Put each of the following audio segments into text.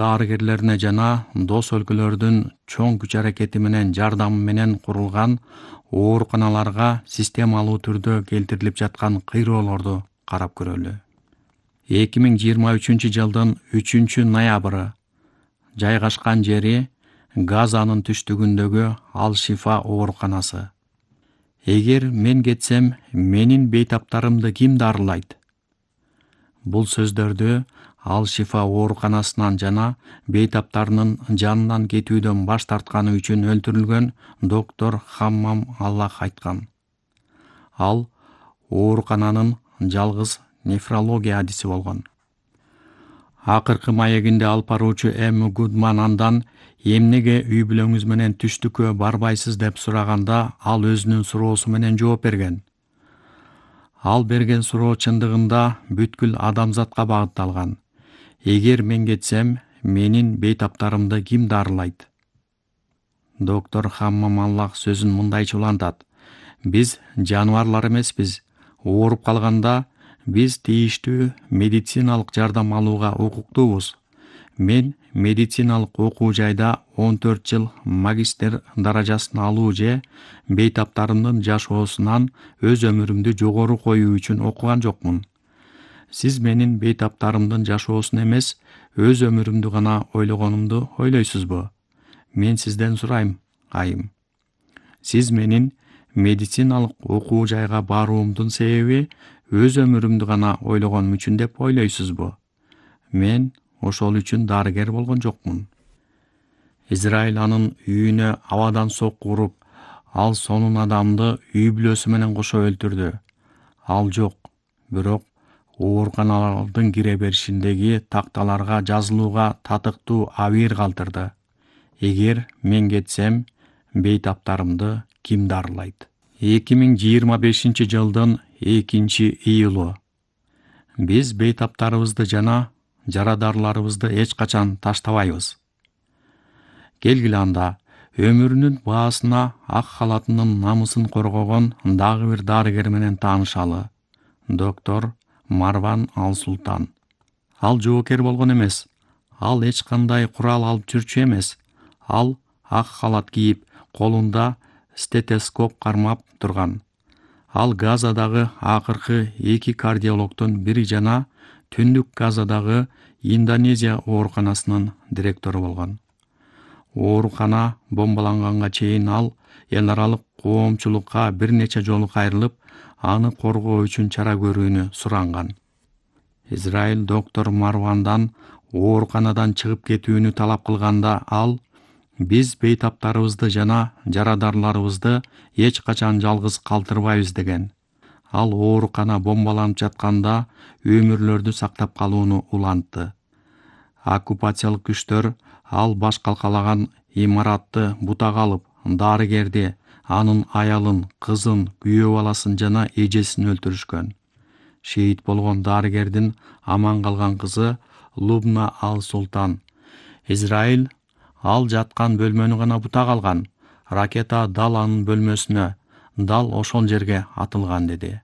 дарыгерлерине жана дос өлкөлөрдүн чоң күч аракети менен жардамы менен курулган ооруканаларга системалуу түрдө келтирилип жаткан кыйроолорду карап көрөлү. 2023-жылдын 3-ноябры жайгашкан жери Газанын түштүгүндөгү Ал-Шифа ооруканасы. Эгер мен кетсем, менин бейтаптарымды ким дарылайт? Бул сөздөрдү Ал-Шифа ооруканасынан жана бейтаптарынын жанынан кетүүдөн баш тартканы үчүн өлтүрүлгөн доктор Хаммам Аллах айткан. Ал оорукананын жалгыз нефрология адиси болгон. Акыркы маегинде алып баруучу Эми Гудман андан эмнеге үй бүлөңүз менен түштүккө барбайсыз деп сураганда, ал өзүнүн суроосу менен жооп берген. Ал берген суроо чындыгында бүткүл адамзатка багытталган. Эгер мен кетсем, менин бейтаптарымды ким дарылайт? Доктор Хаммам Аллах сөзүн мындайча улантат. Биз жаныбарлар эмеспиз. Ооруп калганда биз тийиштүү медициналык жардам алууга укуктуубуз. Мен медициналык окуу жайда 14 жыл магистр даражасын алуу же бейтаптарымдын жашоосунан өз өмүрүмдү жогору коюу үчүн окуган жокмун. Сиз менин бейтаптарымдын жашоосун эмес, өз өмүрүмдү гана ойлогонумду ойлойсузбу? Мен сизден сурайм, айым. Сиз менин медициналык окуу жайга баруумдун себеби өз өмүрүмдү гана ойлогонум үчүн деп ойлойсузбу? Мен ошол үчүн дарыгер болгон жокмун. Израиль анын үйүнө абадан сокку уруп, ал сонун адамды үй бүлөсү менен кошо өлтүрдү. Ал жок, бирок ооруканалардын кире беришиндеги такталарга жазылууга татыктуу абийир калтырды. Эгер мен кетсем, бейтаптарымды ким дарылайт? 2025-жылдын 2-июлу. Биз бейтаптарыбызды жана жарадарларыбызды эч качан таштабайбыз. Келгиле анда, өмүрүнүн баасына ак халатынын намысын коргогон дагы бир дарыгер менен таанышалы. Доктор Марван Ал-Султан. Ал жоокер болгон эмес. Ал эч кандай курал алып жүрчү эмес. Ал ак халат кийип, колунда стетоскоп кармап турган. Ал Газадагы акыркы 2 кардиологдун бири жана Түндүк Газадагы Индонезия ооруканасынын директору болгон. Оорукана бомбаланганга чейин ал эл аралык коомчулукка бир нече жолу кайрылып, аны коргоо үчүн чара көрүүнү суранган. Израиль доктор Марвандан ооруканадан чыгып кетүүнү талап кылганда, ал биз бейтаптарыбызды жана жарадарларыбызды эч качан жалгыз калтырбайбыз деген. Ал оорукана бомбаланып жатканда өмүрлөрдү сактап калууну улантты. Оккупациялык күчтөр ал баш калкалаган имаратты бутага алып, дарыгерди, анын аялын, кызын, күйөө баласын жана эжесин өлтүрүшкөн. Шейит болгон дарыгердин аман калган кызы Лубна Ал-Султан. Израиль ал жаткан бөлмөнү гана бутага алган. Ракета дал анын бөлмөсүнө, дал ошол жерге атылган деди.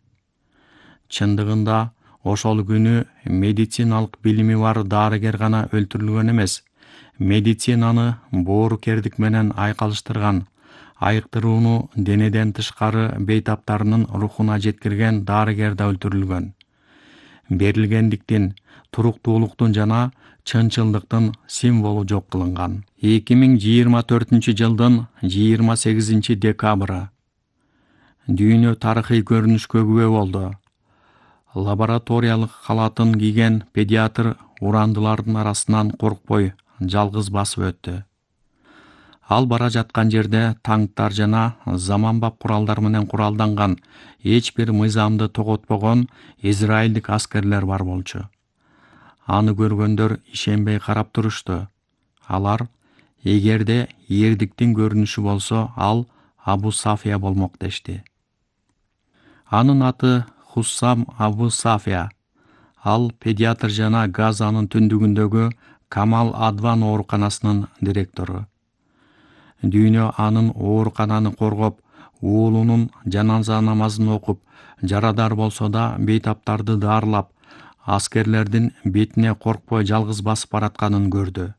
Чындыгында ошол күнү медициналык билими бар дарыгер гана өлтүрүлгөн эмес. Медицинаны боорукердик менен айкалыштырган, айыктырууну денеден тышкары бейтаптарынын рухуна жеткирген дарыгер да өлтүрүлгөн. Берилгендиктин, туруктуулуктун жана чынчылдыктын символу жок кылынган. 2024-жылдын 28 декабры. Дүйнө тарыхый көрүнүшкө күбө болду. Лабораториялык халатын кийген педиатр урандылардын арасынан коркпой жалгыз басып өттү. Ал бара жаткан жерде танктар жана заманбап куралдар менен куралданган эч бир мыйзамды тоготпогон израилдик аскерлер бар болчу. Аны көргөндөр ишенбей карап турушту. Алар, эгерде эрдиктин көрүнүшү болсо, ал Абу Сафия болмок дешти. Анын аты Хуссам Абу Сафия. Ал педиатр жана Газанын түндүгүндөгү Камал Адван ооруканасынын директору. Дүйнө анын оорукананы коргоп, уулунун жаназа намазын окуп, жарадар болсо да бейтаптарды дарылап, аскерлердин бетине коркпой жалгыз басып баратканын көрдү.